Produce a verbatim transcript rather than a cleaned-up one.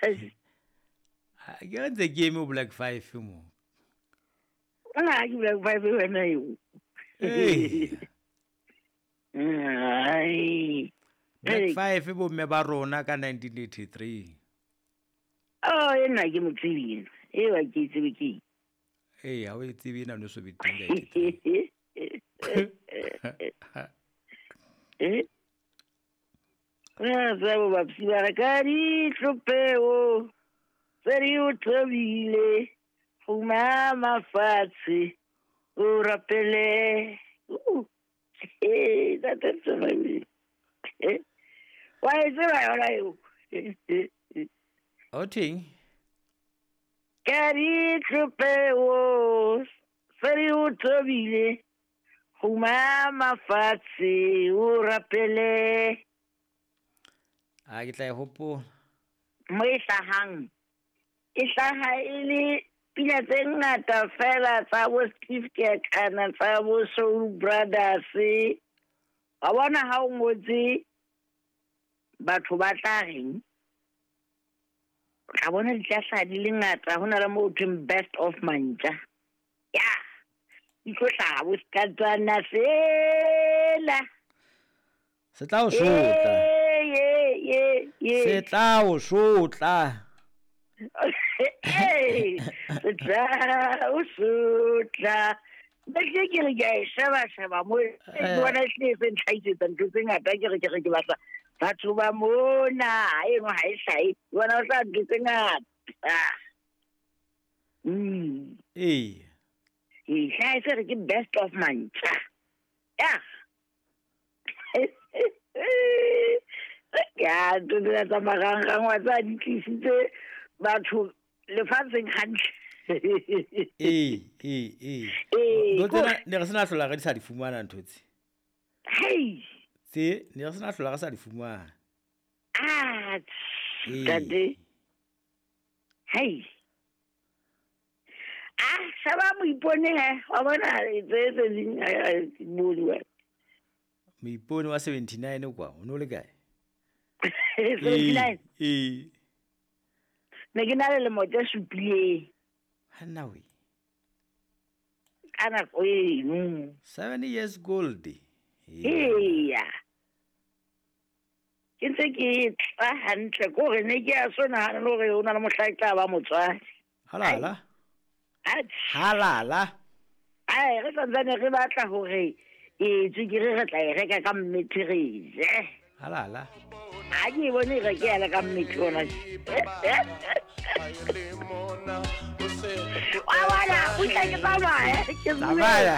Ke re ntse ke eme o Black Five mo. Nna ke Black Five wena eo. Ee. Ai. Black Five bo mme ba rona ka nineteen eighty-three. Oh, ena ke mo tsebile. E wa ke tsebe ke. Ee, ha o e tsebe ena no so be teng ka eighty-three. Eh? Re tsebo ba psi ba re ka ditlopeo tse di o thobile go mama fatshe o rapele. Uh, eh, that is so funny. Eh? Wa e tseba yona eo? O teng? Ka ditlopeo tse di o thobile go mama fatshe o rapele. A ke tla e hopola. Mo e hlahang, e hlaha e le pina tse ngata fela tsa bo Steve Kekana, tsa bo Soul Brothers. Wa bona ha o ngotse batho ba tla reng? O tla bona di tla hlaha di le ngata, ho na le moo ho thweng best of mantja. Ya, di tlo hlaha bo Sekatsana sela. Se tla o sotla. Ye, ye, ye. Se tla o sotla. Ee, se tla o sotla. Nna ke ke re ke a e sheba sheba mo, ke bona e hlile e se ntlhahisetsa ntho tse ngata, ke re ke re ke batla batho ba mona, ha eno ha e hlahe, ke bona ho hlaha ntho tse ngata. Mm. Ee. E hlaha e se re ke best of mantja. Ya. Ya, ntho tsena tsa marangrang wa tseba di tlisitse batho lefatsheng hantle. Ee, ee, ee. Ee, Ntho tsena ko- ne re sena hlola re di sa di fumana ntho tse. Hei. Tse ne re sena hlola re sa di fumana. Ah, Ee. ntate. Hei. Ah, sheba moipone he, wa bona tse tse ding, eh, eh, ke bone wa. Moipone wa seventy-nine kwa, o no le kae? seventy-nine? Ee. Ne ke na le lemo tse supileng. Hanna we. Ka nako eno. Seven years old. Eya. Ke ntse ke tla hantle, ke hore ne ke a so nahana le hore ho na le mohla ke tla ba motswadi. Halala. Atjhe. Halala. Ai, re santsane re batla hore e tswekere re tla e reka ka mmethe re je. Halala. Ha ke e bone e rekela ka mmethe ona. Wa bona, o tla ke tsamaya, ke bue. Tsamaya.